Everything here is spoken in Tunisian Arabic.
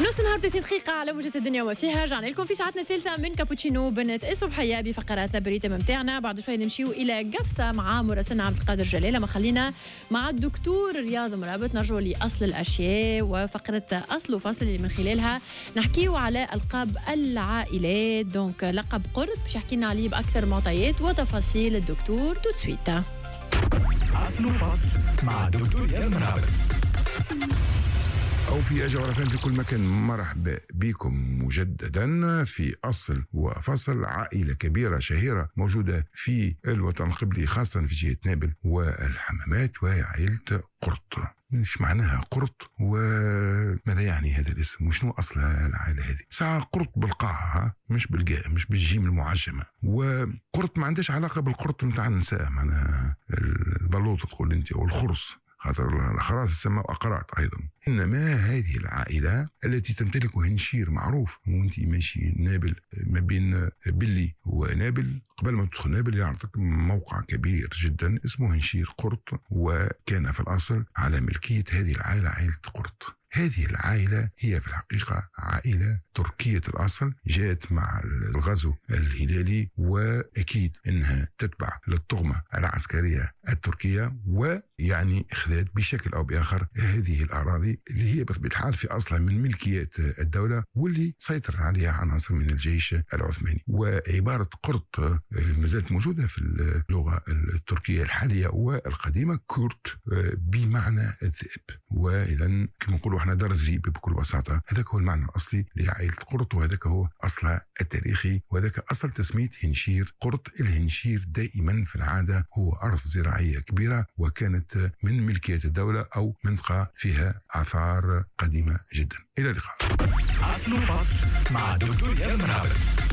نص نهار 30 دقيقة على موجة الدنيا وما فيها. رجعنا لكم في ساعتنا الثالثة من كابوتشينو بنت الصبحية بفقراتنا بال rythme متاعنا. بعد شوي نمشيو إلى قفصة مع مراسلنا عبد القادر جلالة. ما خلينا مع الدكتور رياض مرابط نرجعوا لأصل الأشياء وفقرة أصل وفصل اللي من خلالها نحكيو على ألقاب العائلات. donc لقب قرط باش يحكي لنا عليه بأكثر معطيات وتفاصيل الدكتور tout de suite. أصل وفصل مع الدكتور رياض مرابط. أو في جغرافيا في كل مكان، مرحبا بكم مجددا في أصل وفصل. عائلة كبيرة شهيرة موجودة في الوطن القبلي، خاصة في جهة نابل والحمامات، وهي عائلة قرط. ايش معناها قرط وماذا يعني هذا الاسم وشنو اصل العائلة هذه؟ ساعة قرط بالقاع، مش بالجاء، مش بالجيم المعجمة. وقرط ما عندهاش علاقة بالقرط نتاع النساء، معناها البلوط تقول انت او الخرص، خاطر الأخراس تسمى أقراط أيضا. إنما هذه العائلة التي تمتلك هنشير معروف، وانت ماشي نابل ما بين بلي ونابل، قبل ما تدخل نابل يعطيك موقع كبير جدا اسمه هنشير قرط، وكان في الأصل على ملكية هذه العائلة، عائلة قرط. هذه العائلة هي في الحقيقة عائلة تركية الأصل، جاءت مع الغزو الهلالي، وأكيد أنها تتبع للطغمة العسكرية التركية، ويعني خذت بشكل أو بآخر هذه الأراضي اللي هي بطبيعة الحال في أصلها من ملكيات الدولة، واللي سيطر عليها عناصر من الجيش العثماني. وعبارة قرط ما زالت موجودة في اللغة التركية الحالية والقديمة، kurt بمعنى الذئب. وإذا كما نقولوا احنا دار الذئب بكل بساطة، هذاك هو المعنى الأصلي لعائلة قرط، وهذاك هو أصلها التاريخي، وهذاك أصل تسمية هنشير قرط. الهنشير دائما في العادة هو أرض زراعية كبيرة، وكانت من ملكية الدولة أو منطقة فيها آثار قديمة جدا. إلى اللقاء. أصل وفصل مع دكتور رياض مرابط.